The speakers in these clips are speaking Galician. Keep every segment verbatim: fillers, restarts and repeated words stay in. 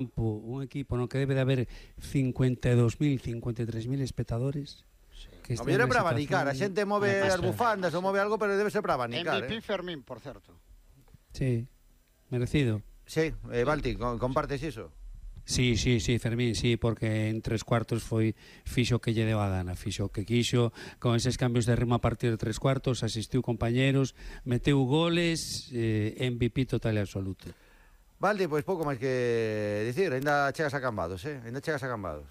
un equipo no que debe de haber cincuenta e dous mil, cincuenta e tres mil espectadores. Sí. O mellor é para abanicar, a xente move as bufandas ou move algo, pero debe ser para abanicar. M V P eh? Fermín, por certo. Sí, merecido. Sí, eh, Balti, compartes iso? Sí, sí, sí, Fermín, sí, porque en tres cuartos foi fixo que lle deu a gana, fixo que quixo, con eses cambios de ritmo a partir de tres cuartos, asistiu compañeros, meteu goles, eh, M V P total e absoluto. Valdi, pois pouco máis que dicir, ainda chegas a Cambados, eh? Ainda chegas a Cambados.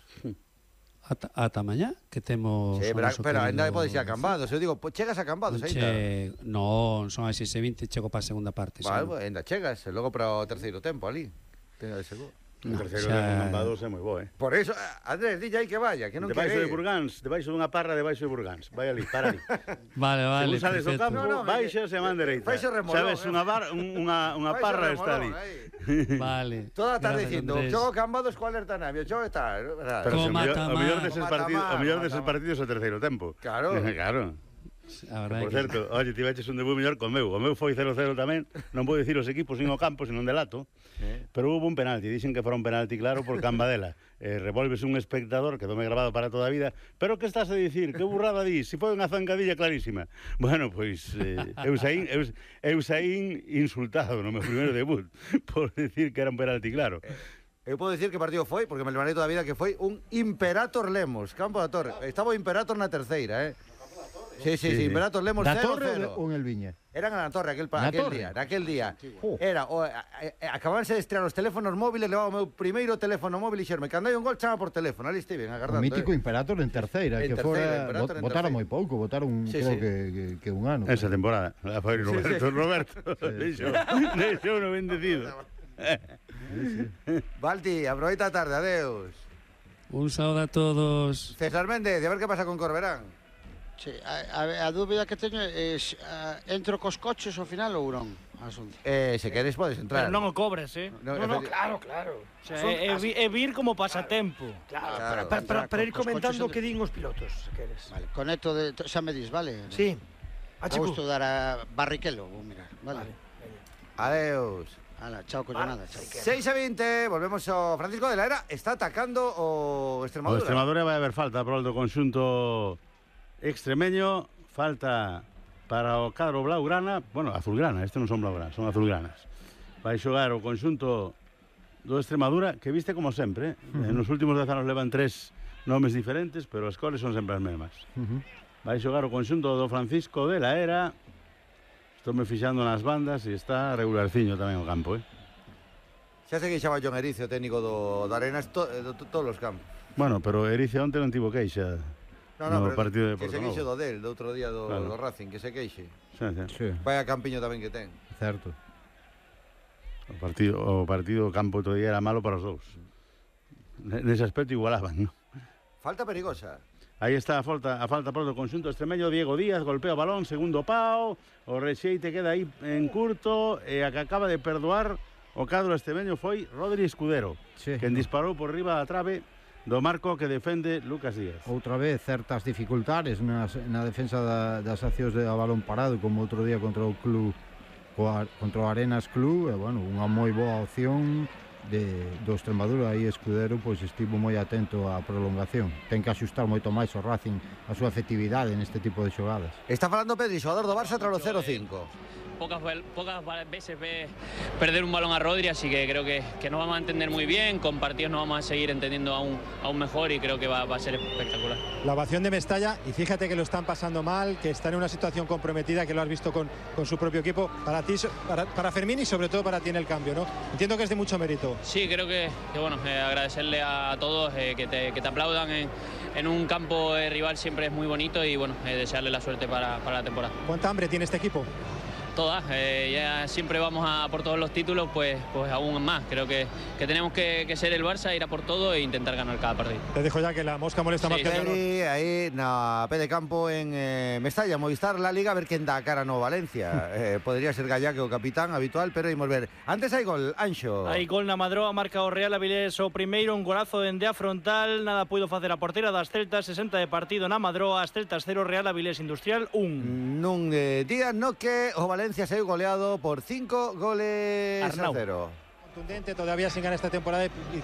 Ata, ata mañá, que temos... Sí, pero, pero ainda podes ir a Cambados, eu digo, chegas a Cambados ainda? Che... Non, son as seis e vinte, chego para a segunda parte. Vale, pues, ainda chegas, e logo para o terceiro tempo ali. Tenga de seguro. O terceiro xa... tempo Cambados é moi bo, eh? Por eso, Andrés, dille aí que vaya, que non debaixo quere... de Burgáns, debaixo dunha parra, debaixo de Burgáns. Vai ali, para ali. Vale, vale, según sales do campo, no, no, baixas e man dereita. Faixe remolón. Sabes, unha, bar, unha, unha parra está ali. Vale. Toda a tarde dicindo, xogo Cambados coa alerta navio, xogo está... Pero o mellor deses partidos, o mellor deses partidos é o terceiro tempo. Claro. Claro. Por certo, oye, ti veches un debut mellor con meu. O meu foi cero cero tamén. Non vou dicir os equipos nin o campo, senón delato. Eh. Pero hubo un penalti. Dixen que fora un penalti claro por Cambadela. Eh, revolves un espectador, quedoume grabado para toda a vida. Pero que estás a dicir? Que burrada dis? Si foi unha zancadilla clarísima. Bueno, pois eh, eu, saín, eu, eu saín insultado no meu primeiro debut por dicir que era un penalti claro. Eu podo dicir que partido foi, porque me levarei toda a vida, que foi un Imperator Lemos, Campo da Torre. Estaba o Imperator na terceira, eh? Sí, sí, sí, sí, Imperator Lemos cero cero. Ou en el Viña? Eran na Torre aquel, aquel torre? día, naquel día. Oh. Era, o, a, a, acabanse de estrear os teléfonos móviles, levaba o meu primeiro teléfono móvil e xerme, cando hai un gol chama por teléfono, ali estiven agardando. O mítico eh. Imperator en terceira, en que terceira, fora, bot, votaron moi pouco, votaron sí, creo sí. que, que, que un ano. Esa temporada, la foi Roberto, sí, sí. Roberto. Deixou, deixou no bendecido. Balti, aproveita a tarde, adeus. Un saúdo a todos. César Méndez, a ver que pasa con Corberán. Sí, a, a, a dúbida que teño é uh, entro cos coches ao final ou non? Asunto. Eh, se queres podes entrar. Pero non o cobres, eh? No, no, no, claro, claro. O sea, é, é, é vir como pasatempo. Claro, claro, para, para, para ir cos comentando o coches que din os pilotos, se queres. Vale, conecto de... Xa me dis, vale? Sí. Vou estudar a Barrichello, vou mirar, vale? Vale. Adeus. Ala, chao, collonada, chao. seis a veinte, volvemos ao Francisco de la Era. Está atacando o Extremadura. O Extremadura vai haber falta por do conxunto extremeño. Falta para o cadro blaugrana, bueno, azulgrana, este non son blaugranas, son azulgranas. Vai xogar o conxunto do Extremadura, que viste como sempre, eh? Uh -huh. Nos últimos dez anos levan tres nomes diferentes, pero as cores son sempre as mesmas. Uh -huh. Vai xogar o conxunto do Francisco de la Era. Estou me fixando nas bandas e está regularciño tamén o campo, eh? Xa se queixaba John Erice, o técnico do, do Arenas, to, de to, todos os campos. Bueno, pero Erice onte non tivo queixa. No, no, no pero partido de que se Porto queixe Novo. do del, do outro día do, claro. do Racing, que se queixe. Sí, sí. Sí. Vaya campiño tamén que ten. Certo. O partido, o partido campo outro día era malo para os dous. Nese aspecto igualaban, ¿no? Falta perigosa. Aí está a falta, a falta por do conxunto extremeño. Diego Díaz golpea o balón, segundo pau, o rexeite queda aí en curto, e a que acaba de perdoar o cadro extremeño foi Rodri Escudero, Sí. quen disparou por riba da trave do marco que defende Lucas Díaz. Outra vez certas dificultades nas, na defensa da, das accións de a balón parado, como outro día contra o club, coa, contra o Arenas Club, e, bueno, unha moi boa opción de, do Extremadura. Aí Escudero pois estivo moi atento á prolongación. Ten que axustar moito máis o Racing a súa efectividade neste tipo de xogadas. Está falando Pedri, xogador do Barça tras o cero cinco. Pocas, pocas veces ve perder un balón a Rodri, así que creo que, que nos vamos a entender muy bien, con partidos nos vamos a seguir entendiendo aún, aún mejor y creo que va, va a ser espectacular. La ovación de Mestalla, y fíjate que lo están pasando mal, que está en una situación comprometida, que lo has visto con, con su propio equipo, para ti, para, para Fermín y sobre todo para ti en el cambio, ¿no? Entiendo que es de mucho mérito. Sí, creo que, que bueno, eh, agradecerle a todos eh, que, te, que te aplaudan en, en un campo eh, rival siempre es muy bonito y bueno, eh, desearle la suerte para, para la temporada. ¿Cuánta hambre tiene este equipo? Todas, eh, ya siempre vamos a por todos los títulos, pues, pues aún más. Creo que, que tenemos que, que ser el Barça, ir a por todo e intentar ganar cada partido. Te dejo ya que la mosca molesta Sí, más que el calor. Pedri, aí na P de campo en eh, Mestalla, Movistar, la Liga, a ver quen dá a cara no Valencia. eh, Podría ser Gallá, que o capitán habitual, pero imos ver. Antes hai gol, Anxo. Hai gol na Madroa, marca o Real Avilés o primeiro, un golazo dende a frontal, nada puido facer a portera das Celtas, sesenta de partido na Madroa, as Celtas cero, Real Avilés Industrial un. Nun eh, día no que o Valencia saiu goleado por cinco goles Arnau. a cero. contundente, todavía sin ganar esta temporada y